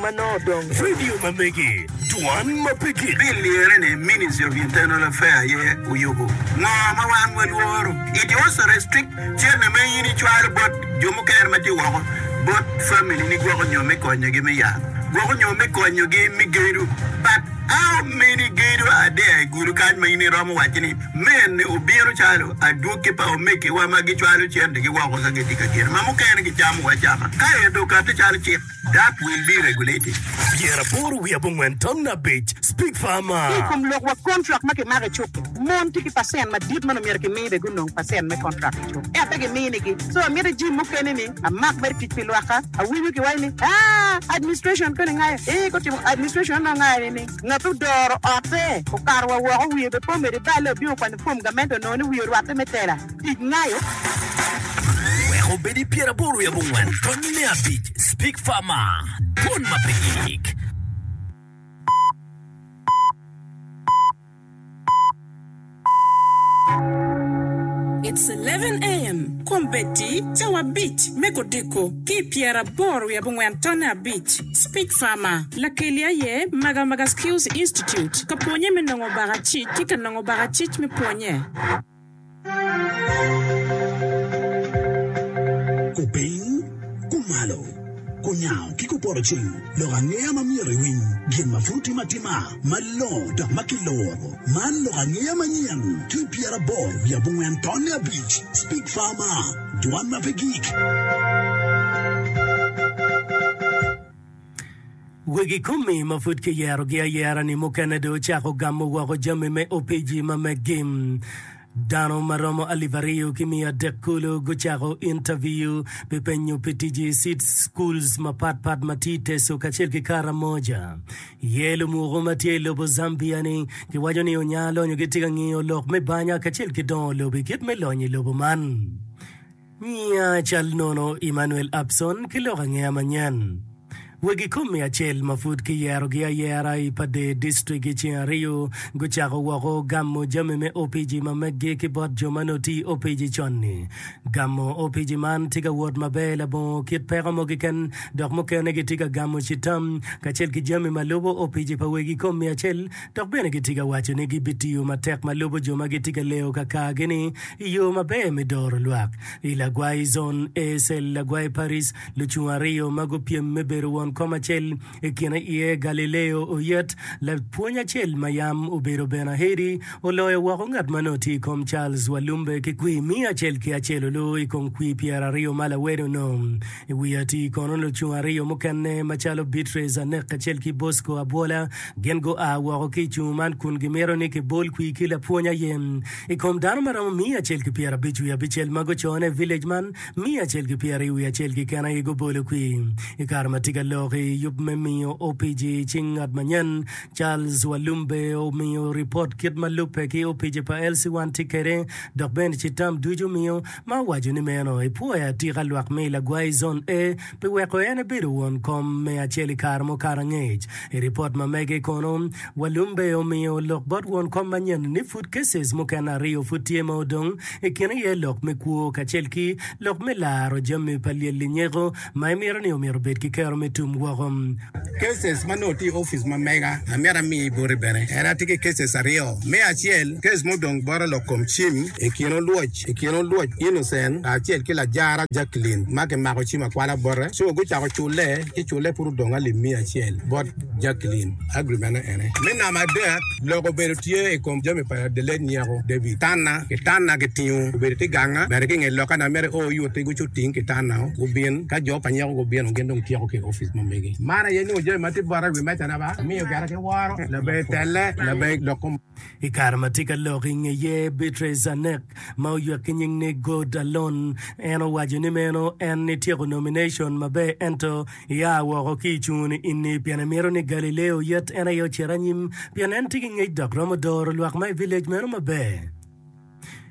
ma nongo odong. Radio ma megi, dwan ma pe gik. Bill lirre ni Ministry of Internal Affair aye oyubo. Ngo ma wan walworo? It also restrict cente ma in icwalo bot jo mukene ma tye woko bot family ni gwoko nyo me konyogi me yat, gwoko nyo me konyogi me gedo. But how many gedo are there i Gulu kany ma in iromo waco ni mene obino calo adwogi pa omegiwa ma gicwalo centegi woko ka gitye ka gene ma mukene gicamowa acama ka ento okati calo cik? That will be regulated. 85 5 Speak Farmer. Ki i kom lok wa kontrak ma kimako i cuk-ki, mon tye ki pacent madit ma nongo myero kimi bene gunong pacent me kontrak i cuk ento pe giminigi. So amito jim mukene ni amak mere tic pi lwakka. Awinyo kiwaco ni aa administration koni ngayo ee gutimo administration onongo ngayo ni ni ngat odoro otte okato wa woko wiye bene pe omedo iballe obino okwanyo form gamente onongo ni wiye orwatte me tela. Tic ngayo. Wek obed i pyeraboro wiye abongwen tony me abic Speak Farmer, Dwon ma pe gik. It's 11 AM, Kombeddi cawa abic me kodiko ki i pyeraboro wiye abongwen tonne abic. Speak Farmer, Lakeli aye Magamaga Skills Institute ka pwonye me nongo bakacic ki ka nongo bakacic me pwonye. Kupiny, kumalo, kunyango ki kupoto ceng, lok angeya ma myero iwiny, gin ma pud otime atima, malongo dok ma kiluro. Man lok angeya manyen ki pyeraboro wiye abongwen tonne abic, Speak Farmer, Dwan ma pe gik. Wegi komi ma pud kiyerogi ayera-ni mukene dong ocako gamo woko jami me opiji ma meggi. Dano ma romo alip aryo ki miya adek kulu gucako intaviyu pi penyo pi tic i seed schools mapat pat ma tye i Teso kacel ki Karamoja. Iye lumuku ma tye i lobo Zambia-ni giwaco ni onya lonyo gitye ka ngiyo lok me banya kacel ki dongo lobo i kit me lonyo i lobo man. Ngiya cal nono Emmanuel Abson ki lok angeya manyen. Wegi komi acel ma pud kiyerogi ayera i Pader District i ceng ariyo gucako woko gamo jami me opiji ma meggi ki bot jo ma nongo tye i opiji con-ni. Gamo opiji man tye ka wot maber labongo kit peko mo keken dok mukene gitye ka gamo citam kacel ki jami ma lubo opiji pa wegi komi acel dok bene gitye ka waco ni gibitiyo matek ma lubo jo ma gitye ka leyo kakargi-ni I yo maber me doro lwak i Lagwai Zone A Cell Lagwai Paris, lucung ariyo ma gupyem me bedo won kom acel, i kine iye Galileo Oyet, lapwony acel ma yam obedo bene Ahedi, oloyo woko ngat ma nongo tye i kom Charles Walumbe ki kwir miya acel ki acel olu i kom kwir pyeraryo ma lawede onongo. I wi ati kono lucung ariyo mukene macalo Beatrice Anek kacel ki Bosco Abwola gin gua woko ki i cung man kun gimito ni kibol kwir ki lapwony aye. I kom dano ma romo miya acel ki pyerabic wiye abicel ma gucone i village man, miya acel ki pyeraryo wiye acel keken aye gubolo kwir. I kare ma tye ka lok i yub me miyo OPG i cing ngat manyen, Charles Walumbe omiyo ripot kit ma lubbe ki OPG pa LC1 tye kwede dok bene citam ducu omiyo ma owaco ni meno epwoyo atika lwak me i Lagwai Zone A pi weko en ebedo won kom me acel i kare mukato angec. I ripot ma mege kono, Walumbe omiyo lok bot won kom manyen ni pud cases mukene ariyo pud tye ma odong, i kine iye lok me kwo kacel ki lok me laro jami pa lyel linyeko ma imito ni omyero obed ki kero me tum woko. Cases ma nongo tye i opic ma mega amito amiyi boti bene en atye ki cases ariyo. Me acel, case mudong bota lok kom cim i kin olwoc i kin olwoc Innocent kacel ki Lajara Jacqueline ma kimako cim akwala bote so gucako culle ci culle pud odong alip miya acel bot Jacqueline. Agreement ene. Me namba adek, lok obedo tye i kom jami pa the late Nyeko David. Tanna, kitanna kitingo obedo tye ganga, bene ki i nge loka na mere o yuti gucu ting kitanna gubin, ka jo pa Nyeko gubino gin dong tyeko ki i opic ma megi. Man aye nongo jami ma tye bota i wi mecana ba, amiyo gire ki woro, laber telle, laber lok kom. I kare ma tye ka lok i ngeye, Beatrice Anek, ma oywek ki nying ni God Alone, en owaco ni meno en etyeko nomination maber ento Ia woko ki i cungoni ini, pien imito ni Galileo oyet en aye ocit anyim, pien en tye ki ngec dok romo doro lwak ma i village meno maber.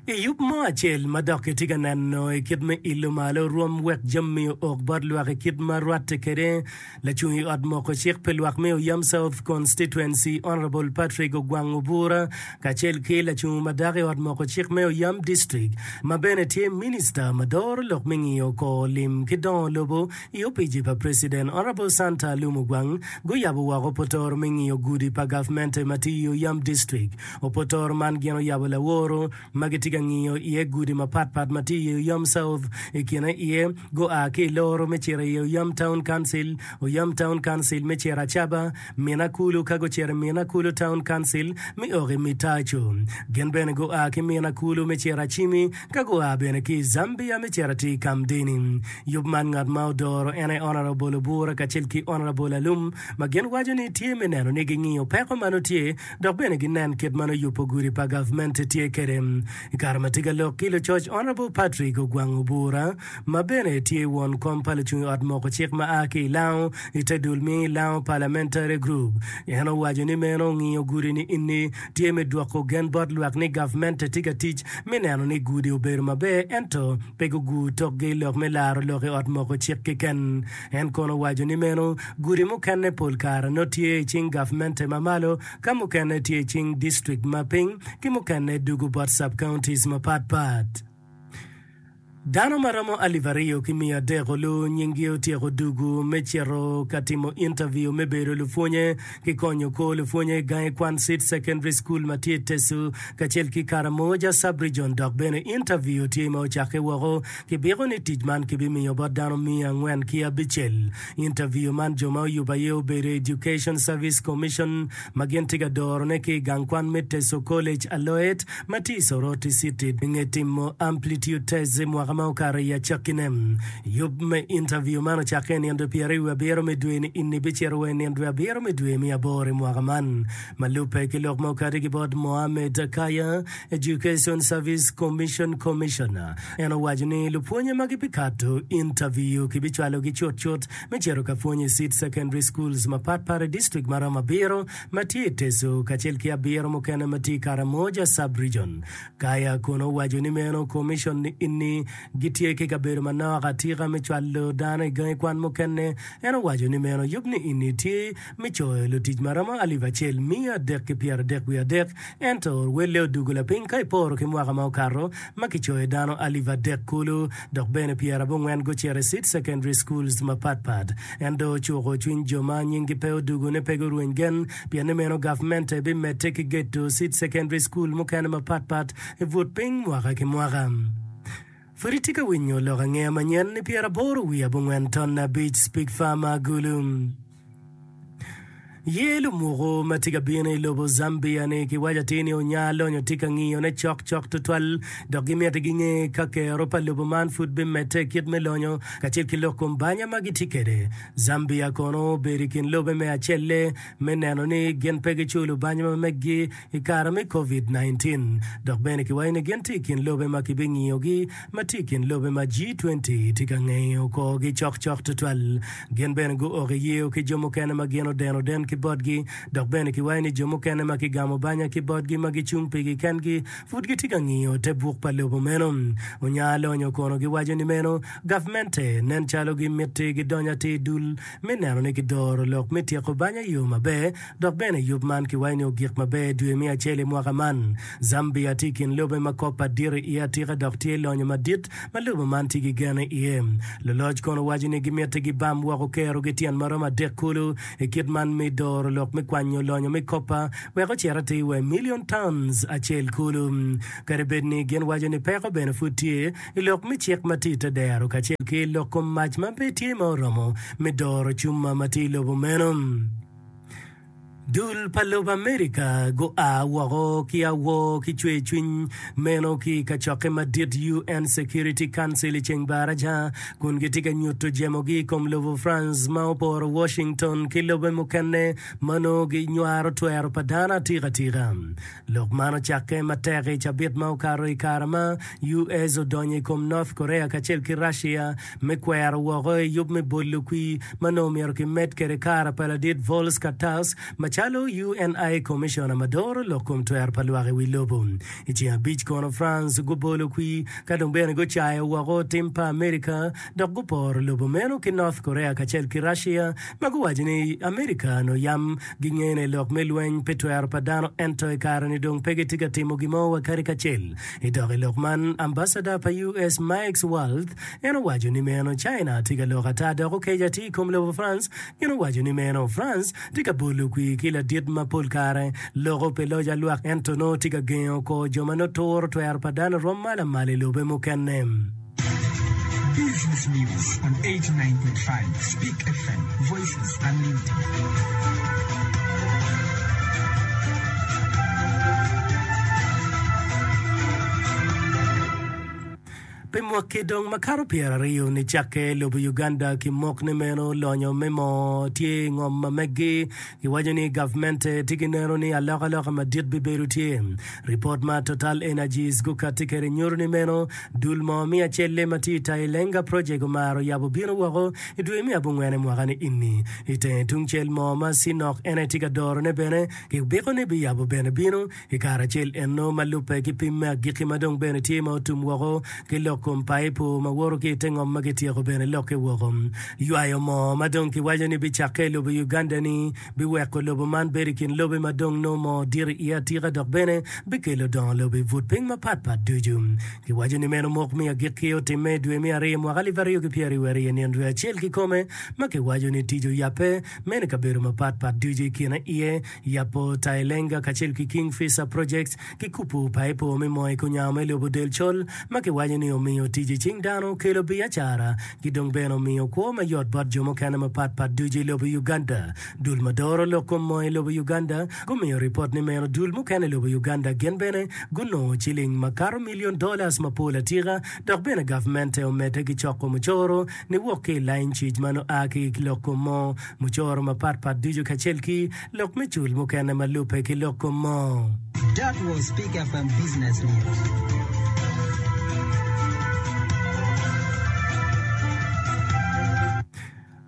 I yub mo acel ma dok kitye ka neno i kit me ilo malo rwom wek jami ook bot lwak i kit ma rwatte kwede, lacung i ot moko cik pi lwak me Oyam South Constituency Honourable Patrick Ogwang Obura kacel ki lacung ma dako i ot moko cik me Oyam District ma bene tye Minista ma doro lok me ngiyo kor lim ki dongo lobo i opici pa President Honourable Santa Alum Ogwang guyabo woko potoro me ngiyo gudi pa gavmente ma tye i Oyam District. Opotoro man gin oyabo laworo ma gitye ka ngiyo iye gudi mapatpat ma tye i Oyam South. I kine iye gua ki i Loro me cito i Oyam Town Council, Oyam Town Council me cito Acaba, Mina Kulu ka gucito i Mina Kulu Town Council me ok i Mitaco. Gin bene gua ki Mina Kulu me cito Acimi ka gua bene ki i Zambia me cito atir i Kamdini. Yub man ngat ma odoro en aye Honourable Obura kacel ki Honourable Alum ma gin waco ni tye me neno ni gingiyo peko ma nongo tye dok bene ginen kit ma nongo yubo gudi pa gavmente tye kwede. I kare ma tye ka lok ki lucoc, Honourable Patrick Ogwang Obura, ma bene tye won kom pa lucung i ot moko cik ma a ki i Lango i te dul mi Lango Parliamentary Group, en owaco ni meno ngiyo gudi ni ini tye me dwoko gen bot lwak ni gavmente tye ka tic me neno ni gudi obedo maber ento pe gugur tokgi i lok me laro lok i ot moko cik keken. En kono owaco ni meno gudi mukene pol kare nongo tye i cing gavmente ma malo, ka mukene tye i cing distrik ma piny, ki mukene dugo bot sub-counties mapat pat. Dano ma romo 2300 olu nyinggi otyeko dugu me cito ka timo intaviu me bedo lupwonye ki konyo kor lupwonye i gangi kwan Seed Secondary School ma tye i Teso kacel ki Karamoja Sub-Region dok bene intaviu tye ma ocakke woko Kibiko ni tic man kibimiyo bot dano 406. Intaviu man jo ma oyubo aye obedo Education Service Commission ma gin tye ka dorone ki i gang kwan me Teso College Aloet ma tye i Soroti City i nge timo Amplitude Test i mwaka ma okato i acakkine. Yub me intaviu man ocakke i nino 27 me dwe-ni ini bicito wa i nino 7 me dwe me aboro i mwaka man. Ma lubbe ki lok ma okati ki bot Mohammed Kaya, Education Service Commission Commissioner, en owaco ni lupwonye ma gibikato intaviyu kibicwalogi cutcut me cito ka pwony i Seed Secondary Schools mapatpat i distrik maromo abiro ma tye i Teso kacel ki abiro mukene ma tye i Karamoja Sub-Region. Kaya kono owaco ni meno commission ni gitye ki kabedo manok atika me cwalo dano i gangi kwan mukene. En owaco ni meno yub ni ini tye me coyo lutic ma romo 1,333, ento welle odugo lapiny ka iporo ki mwaka ma okato ma kicoyo dano 3,000 kulu dok bene 90 gucito i Seed Secondary Schools mapat pat. En dong ocuko cwiny jo ma nyinggi pe odugo ni pe gurweny gen pien ni meno gavmente bimedde ki gedo Seed Secondary School mukene mapat pat i but piny mwaka ki mwaka. Pud itye ka winyo lok angeya manyen ni 84 ton abic Speak Farmer Gulu. Ye lumuku ma tye ka bino i lobo Zambia ni kiwaco atir ni onya lonyo tye ka ngiyone cok cok tutwal dok gimiti ginge ka kero pa lobo man pud bimedde i kit me lonyo kacel ki lok kom banya ma gitye kwede. Zambia kono obedo i kin lobe me acelle me neno ni gin pe giculo banya ma meggi i kare me Covid 19 dok bene kiwaco ni gin tye i kin lobe ma kibingiyogi ma tye i kin lobe ma G20 tye ka ngeyo korgi cokcok tutwal. Gin bene guok i yeyo ki jo mukene ma gin odeno den ki botgi, dok bene kiwaco ni jo mukene ma kigamo banya ki botgi ma gicung pigi kengi pud gitye ka ngiyo te buk pa lobo meno. Onya lonyo kono giwaco ni meno gavmente nen calo gimiti gidony atir i dul me neno ni kidoro lok me tyeko banya i yo maber Dok bene yub man kiwaco ni ogik maber dwe me acel i mwaka man. Zambia tye i kin lobe ma kop adit iye atika dok tye lonyo madit ma lobo man tye ki gen iye. Luloc kono waco ni gimiti gibam woko kerogi tyen maromo adek kulu i kit man me doro lok me kwanyo lonyo me kopa wek ocit atir wa i million tons acel kulu. Kadi bed ni gin waco ni peko bene pud tye i lok me cik ma tye i te dero kacel ki lok kom mac ma pe tye ma oromo me doro cuma ma tye i lobo meno. Dul pa lobo Amerika gua woko ki awor ki cwercwiny meno ki i kacokke madit UN Security Council i ceng baraja kun gitye ka nyuto jemogi i kom lobo France ma oporo Washington ki lobe mukene ma nongo ginywaro twero pa dano atika tika. Lok man ocakke matek i cabit ma okato i kare ma US odonyo i kom North Korea kacel ki Russia me kwero woko i yub me bolo kwir ma nongo myero kimed kwede kare pa ladit Volker Tusk macalo. macalo UNI Commissioner ma doro lok kom twero pa lwak i wi lobo. I ceng abic kono France gubolo kwir ka dong bene gucayo woko tim pa Amerika dok guporo lobo meno ki North Korea kacel ki Russia ma guwaco ni Amerika onongo yam gingene i lok me lweny pi twero pa dano ento i kare-ni dong pe gitye ka timo gin mo wa kadi kacel. I dok i lok man, ambassador pa US Mike Waltz en owaco ni meno China tye ka lok ata dok okeco atir i kom lobo France. Gin owaco ni meno France tye ka bolo kwir ki ladit ma pol kare loko pi loc alwak ento nongo tye ka gengo kor jo ma nongo turo twero pa dano rwom ma lamal i lobe mukene. Business News on 89.5 Speak FM, Voices Unlimited. Pi mwaki dong makato pyeraryo nicakke lobo Uganda ki mok ni meno lonyo me moo tye i ngom ma meggi, giwaco ni gavmente tye ki neno ni alokaloka madit bibedo tye. Ripot ma Total Energies gukatti kwede nyuto ni meno dul moo me acelle ma tye i Tilenga Project omaro yabo bino woko i dwe me abongwene mwaka ni ini. I tenge tungcel moo ma Sinok en aye tye ka dorone bene kibiko ni biyabo bene bino I kare acel enno, ma lubbe ki pim me agikki ma dong bene tye ma otum woko ki lok kom paipo ma woto ki i te ngom ma kityeko bene lokke woko, ywayo moo ma dong kiwaco ni bicakke i lobo Uganda-ni biweko lobo man bedo i kin lobe ma dong nongo moo dit iye atika dok bene bikelo dongo lobo i but piny mapatpat ducu. Kiwaco ni meno mok me agikki otimme i dwe me aryo mwaka alip aryo ki pyeraryo nino dwe acel kikome ma kiwaco ni tic oyabbe meno i kabedo mapatpat ducu i kine iye Yabo Tailenga kacel ki Kingfisher Projects ki kupu paipo me moo i kunyango me lobo del col ma kiwaco ni omiyo tic i cing dano, kelo biacara ki dong bene omiyo kwo mayot bot jo mukene mapat pat ducu i lobo Uganda. Dul ma doro lok kom moo i lobo Uganda gumiyo ripot ni meno dul mukene i lobo Uganda gin bene gunongo ciling makato million dollars mapol atika dok bene gavmente omedde ki coko mucoro niwok ki i lain cic ma nongo a ki i lok kom moo Mucoro mapat pat ducu kacel ki lok me cul mukene ma lubbe ki lok kom moo. That was Speak FM Business News.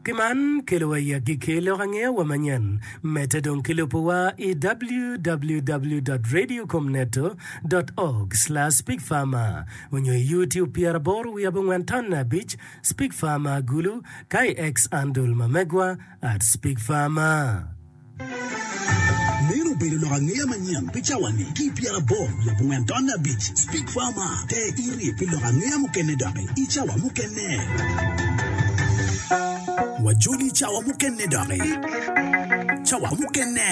Ki man kelowa i agikki lok angeya wa manyen. Medde dong ki lubowa i www dot radiocomneto dot org slash speakfarmer onyo i YouTube pyeraboro wiye abongwen tonne abic Speak Farmer Gulu ka i X-andle ma megwa at Speak Farmer. Meno obedo lok angeya manyen pi cawa-ni ki i pyeraboro wiye abongwen tonne abic. Speak Farmer, Ter iri pi lok angeya mukene doki i cawa mukene. Wajoli i cawa mukene doki. Cawa mukene.